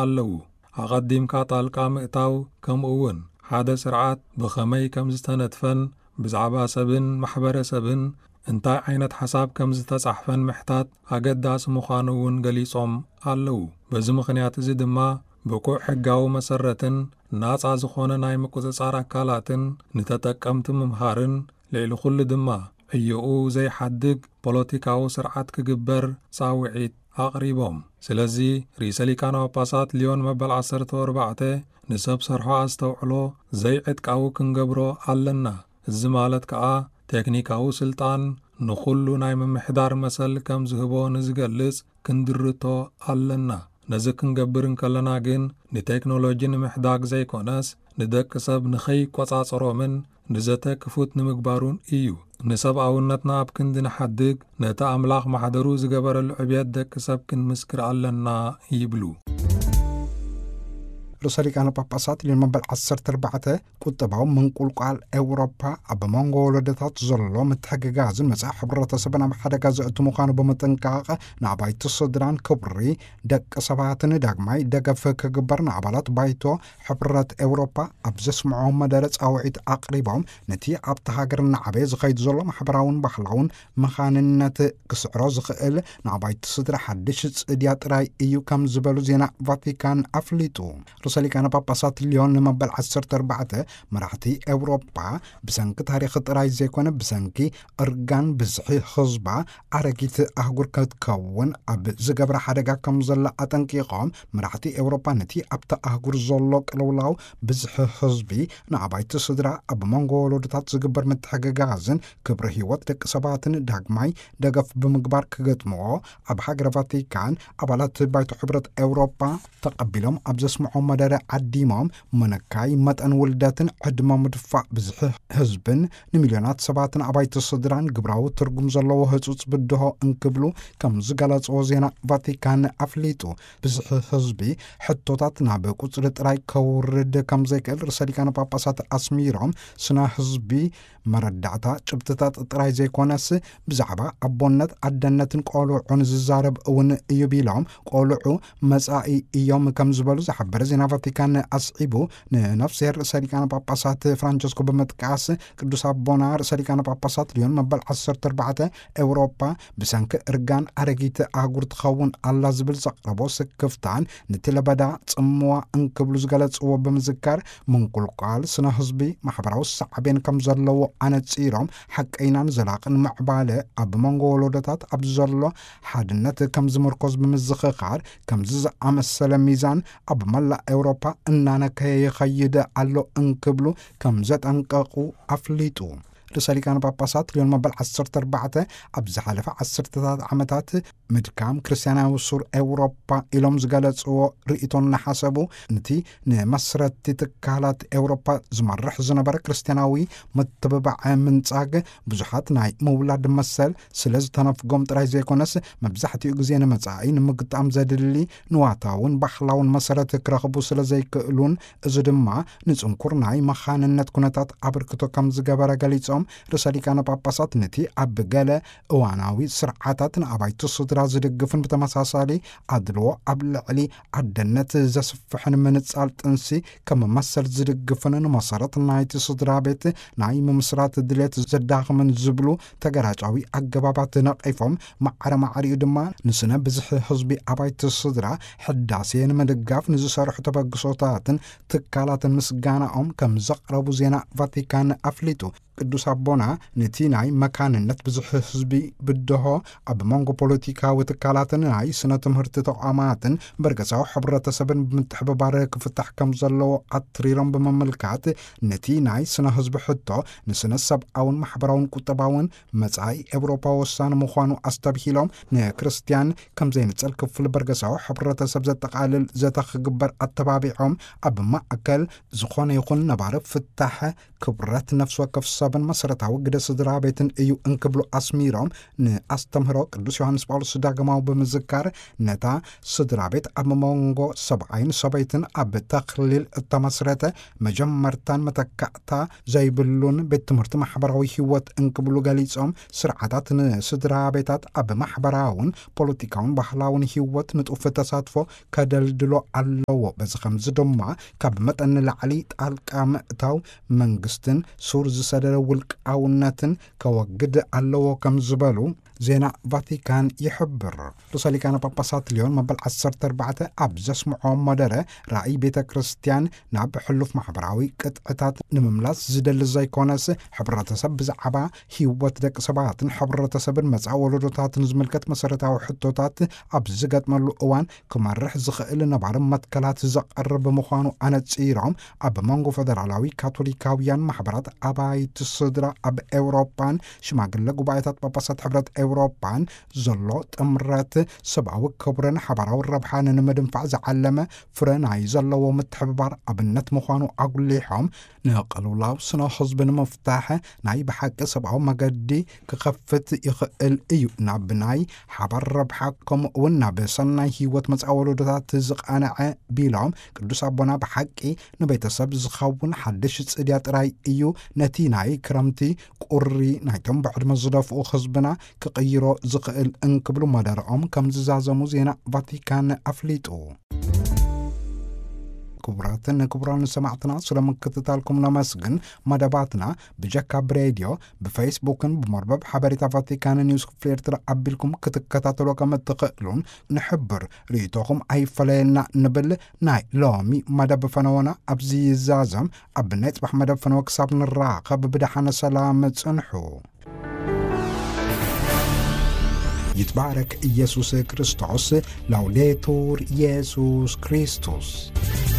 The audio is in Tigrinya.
ኣለዉ። ኣቐዲምካ ጣልቃ ምእታው፣ ከምኡ እውን ሓደ ስርዓት ብኸመይ ከም ዝተነድፈን ብዛዕባ ሰብን ማሕበረሰብን እንታይ ዓይነት ሓሳብ ከም ዝተጻሕፈን ምሕታት ኣገዳሲ ምዃኑ እውን ገሊጾም ኣለዉ። በዚ ምኽንያት እዚ ድማ ብቁዕ ሕጋዊ መሰረትን ናጻ ዝኾነ ናይ ምቁጽጻር ኣካላትን ንተጠቀምቲ ምምሃርን፣ ልዕሊ ኩሉ ድማ ዕዮኡ ዘይሓድግ ፖለቲካዊ ስርዓት ክግበር ጻውዒት ኣቕሪቦም። ስለዚ ርእሰ ሊቃነ ጳጳሳት ሊዮን መበል ዓሰርተ ኣርባዕተ ንሰብ ሰርሖ ኣስተውዕሎ ዘይዕጥቃዊ ክንገብሮ ኣለና። እዚ ማለት ከኣ ቴክኒካዊ ስልጣን ንኹሉ ናይ ምምሕዳር መሰል ከም ዝህቦ ንዝገልጽ ክንድርቶ ኣለና። ነዚ ክንገብር እንከለና ግን ንቴክኖሎጂ ንምሕዳግ ዘይኮነስ ንደቂ ሰብ ንኸይቆጻጸሮምን ንዘተ ክፉት ንምግባሩን እዩ። ንሰብኣውነትና ኣብ ክንዲ ንሓድግ ነቲ ኣምላኽ ማሕደሩ ዝገበረሉ ዕብየት ደቂ ሰብ ክንምስክር ኣለና ይብሉ። ርእሰ ሊቃነ ጳጳሳት ሊዮን መበል ዓሰርተ ኣርባዕተ ቁጠባዊ ምንቁልቋል ኤውሮፓ ኣብ መንጎ ወለዶታት ዘሎ ምትሕግጋዝን መጻኢ ሕብረተሰብን ኣብ ሓደጋ ዘእቱ ምዃኑ ብምጥንቃቕ፣ ንኣባይቲ ስድራን ክብሪ ደቂ ሰባትን ዳግማይ ደገፍ ክግበር ንኣባላት ባይቶ ሕብረት ኤውሮፓ ኣብ ዘስምዖ መደረ ጻውዒት ኣቕሪቦም፣ ነቲ ኣብቲ ሃገር እናዓበየ ዝኸይድ ዘሎ ማሕበራውን ባህላውን መኻንነት ክስዕሮ ዝኽእል ንኣባይቲ ስድራ ሓድሽ ጽድያ ጥራይ እዩ ከም ዝበሉ ዜና ቫቲካን ኣፍሊጡ። ርእሰ ሊቃነ ጳጳሳት ሊዮን ንመበል ዓሰርተ ኣርባዕተ መራሕቲ ኤውሮጳ ብሰንኪ ታሪኽ ጥራይ ዘይኮነ ብሰንኪ እርጋን ብዝሒ ህዝባ ኣረጊት ኣህጉር ክትከውን ኣብ ዝገብራ ሓደጋ ከም ዘላ ኣጠንቂቖም፣ መራሕቲ ኤውሮጳ ነቲ ኣብታ ኣህጉር ዘሎ ቅልውላው ብዝሒ ህዝቢ ንኣባይቲ ስድራ ኣብ መንጎ ወለዶታት ዝግበር ምትሕግጋዝን ክብሪ ህይወት ደቂ ሰባትን ዳግማይ ደገፍ ብምግባር ክገጥምዎ ኣብ ሃገረ ቫቲካን ኣባላት ባይቶ ሕብረት ኤውሮጳ ተቐቢሎም ኣብ ዘስምዖ መደረ ዓዲሞም፣ ምንካይ መጠን ውልደትን ዕድመ ምድፋእ ብዝሒ ህዝብን ንሚልዮናት ሰባትን ኣባይቲ ስድራን ግብራዊ ትርጉም ዘለዎ ህጹጽ ብድሆ እንክብሉ ከም ዝገለጽዎ ዜና ቫቲካን ኣፍሊጡ። ብዝሒ ህዝቢ ሕቶታት ናብ ቁጽሪ ጥራይ ከውርድ ከም ዘይክእል ርእሰ ሊቃነ ጳጳሳት ኣስሚሮም፣ ስነ ህዝቢ መረዳእታ ጭብጥታት ጥራይ ዘይኮነስ ብዛዕባ ኣቦነት፣ ኣደነትን ቆልዑን ዝዛረብ እውን እዩ ቢሎም፣ ቆልዑ መጻኢ እዮም ከም ዝበሉ ዝሓበረ ዜና ቫቲካን ኣስዒቡ፣ ንነፍስሄር ርእሰ ሊቃነ ጳጳሳት ፍራንቸስኮ ብምጥቃስ፣ ቅዱስ ኣቦና ርእሰ ሊቃነ ጳጳሳት ሊዮን መበል ዓሰርተ ኣርባዕተ ኤውሮጳ ብሰንኪ እርጋን ኣረጊት ኣህጉር ትኸውን ኣላ ዝብል ዘቕረቦ ስክፍታን ነቲ ለበዳ ጽምዋ እንክብሉ ዝገለጽዎ ብምዝካር፣ ምንቁልቋል ስነ ህዝቢ ማሕበራዊ ሳዕቤን ከም ዘለዎ ኣነጺሮም፣ ሓቀይናን ዘላቕን ምዕባለ ኣብ መንጎ ወለዶታት ኣብ ዘሎ ሓድነት ከም ዝምርኮዝ ብምዝኽኻር፣ ከምዚ ዝኣመሰለ ሚዛን ኣብ መላእ ኤውሮፓ እናነከየ ይኸይድ ኣሎ እንክብሉ ከም ዘጠንቀቑ ኣፍሊጡ። ርእሰ ሊቃነ ጳጳሳት ሊዮን መበል ዓሰርተ ኣርባዕተ ኣብ ዝሓለፈ ዓሰርተታት ዓመታት ምድካም ክርስትያናዊ ሱር ኤውሮፓ ኢሎም ዝገለጽዎ ርእይቶ እናሓሰቡ፣ ነቲ ንመስረቲ ትካላት ኤውሮፓ ዝመርሕ ዝነበረ ክርስትያናዊ ምትብባዕ ምንጻግ፣ ብዙሓት ናይ ምውላድ መሰል ስለ ዝተነፍጎም ጥራይ ዘይኮነስ፣ መብዛሕትኡ ግዜ ንመጻኢ ንምግጣም ዘድሊ ንዋታውን ባህላውን መሰረት ክረኽቡ ስለ ዘይክእሉን፣ እዚ ድማ ንጽንኩር ናይ መኻንነት ኩነታት ኣበርክቶ ከም ዝገበረ ገሊጾም፣ ርእሰ ሊቃነ ጳጳሳት ነቲ ኣብ ገለ እዋናዊ ስርዓታት ንኣባይቲ ስድራ ዝድግፍን ብተመሳሳሊ ኣድልዎ ኣብ ልዕሊ ኣደነት ዘስፍሕን ምንጻል ጥንሲ ከም መሰል ዝድግፍን ንመሰረት ናይቲ ስድራ ቤት ናይ ምምስራት ድሌት ዘዳኽምን ዝብሉ ተገራጫዊ ኣገባባት ነቒፎም፣ ማዕረ ማዕሪኡ ድማ ንስነ ብዝሒ ህዝቢ ኣባይቲ ስድራ ሕዳሴ ንምድጋፍ ንዝሰርሑ ተበግሶታትን ትካላትን ምስጋናኦም ከም ዘቕረቡ ዜና ቫቲካን ኣፍሊጡ። ቅዱስ ኣቦና ነቲ ናይ መካንነት ብዝሒ ህዝቢ ብድሆ ኣብ መንጎ ፖለቲካዊ ትካላትን ናይ ስነ ትምህርቲ ተቋማትን በርገሳዊ ሕብረተሰብን ብምትሕብባር ክፍታሕ ከም ዘለዎ ኣትሪሮም ብምምልካት፣ ነቲ ናይ ስነ ህዝቢ ሕቶ ንስነ ሰብኣውን ማሕበራውን ቁጠባውን መጻኢ ኤውሮፓ ወሳኒ ምዃኑ ኣስተብሂሎም፣ ንክርስትያን ከም ዘይንጸል ክፍሊ በርገሳዊ ሕብረተሰብ ዘጠቓልል ዘተ ክግበር ኣተባቢዖም፣ ኣብ ማእከል ዝኾነ ይኹን ነባሪ ፍታሕ ክብረት ነፍሲ ወከፍ ሰብን መሰረታዊ ግደ ስድራ ቤትን እዩ እንክብሉ ኣስሚሮም፣ ንኣስተምህሮ ቅዱስ ዮሃንስ ጳውሎስ ዳግማዊ ብምዝካር፣ ነታ ስድራ ቤት ኣብ መንጎ ሰብኣይን ሰበይትን ኣብ ተኽሊል እተመስረተ መጀመርታን መተካእታ ዘይብሉን ቤት ትምህርቲ ማሕበራዊ ህይወት እንክብሉ ገሊጾም፣ ስርዓታት ንስድራ ቤታት ኣብ ማሕበራውን ፖለቲካውን ባህላውን ህይወት ንጡፍ ተሳትፎ ከደልድሎ ኣለዎ። በዚ ከምዚ ድማ ካብ መጠን ንላዕሊ ጣልቃ ምእታው መንግስትን ሱር ዝሰደደ ውልቃውነትን ከወግድ ኣለዎ ከም ዝበሉ ዜና ቫቲካን ይሕብር። ርእሰ ሊቃነ ጳጳሳት ሊዮን መበል ዓሰርተ ኣርባዕተ ኣብ ዘስምዖ መደረ፣ ራእይ ቤተ ክርስቲያን ናብ ሕሉፍ ማሕበራዊ ቅጥዕታት ንምምላስ ዝደሊ ዘይኮነስ፣ ሕብረተሰብ ብዛዕባ ህይወት ደቂ ሰባትን ሕብረተሰብን መጻኢ ወለዶታትን ዝምልከት መሰረታዊ ሕቶታት ኣብ ዝገጥመሉ እዋን ክመርሕ ዝኽእል ነባሪ መትከላት ዘቐርብ ምዃኑ ኣነጺሮም፣ ኣብ መንጎ ፈደራላዊ ካቶሊካውያን ማሕበራት ኣባይቲ ስድራ ኣብ ኤውሮጳን ሽማግለ ጉባኤታት ጳጳሳት ሕብረት ኤውሮጳን ዘሎ ጥምረት፣ ሰብኣዊ ክብርን ሓባራዊ ረብሓን ንምድንፋዕ ዝዓለመ ፍረ ናይ ዘለዎ ምትሕብባር ኣብነት ምዃኑ ኣጉሊሖም፣ ንቅልውላው ስነ ህዝቢ ንምፍታሕ ናይ ብሓቂ ሰብኣዊ መገዲ ክኸፍት ይኽእል እዩ፣ ናብ ናይ ሓባር ረብሓ ከምኡ እውን ናብ ሰናይ ህይወት መጻኢ ወለዶታት ዝቐንዐ ቢሎም፣ ቅዱስ ኣቦና ብሓቂ ንቤተሰብ ዝኸውን ሓድሽ ጽድያ ጥራይ እዩ ነቲ ናይ ክረምቲ ቁሪ ናይቶም ብዕድመ ዝደፍኡ ህዝብና ክቕይሮ ዝኽእል እንክብሉ መደረኦም ከም ዝዛዘሙ ዜና ቫቲካን ኣፍሊጡ። ክቡራትን ክቡራን ሰማዕትና፣ ስለ ምክትታልኩም ነመስግን። መደባትና ብጀካ ብሬድዮ፣ ብፌስቡክን ብመርበብ ሓበሬታ ቫቲካን ኒውስ ክፍሊ ኤርትራ ኣቢልኩም ክትከታተሎ ከም እትኽእሉን ንሕብር። ርእይቶኹም ኣይፈለየና ንብል። ናይ ሎሚ መደብ ፈነወና ኣብዚ ይዛዘም። ኣብ ናይ ጽባሕ መደብ ፈነወ ክሳብ ንራኸብ ብደሓነ ሰላም ጽንሑ። ይትባረክ ኢየሱስ ክርስቶስ። ላውዴቱር ኢየሱስ ክርስቶስ።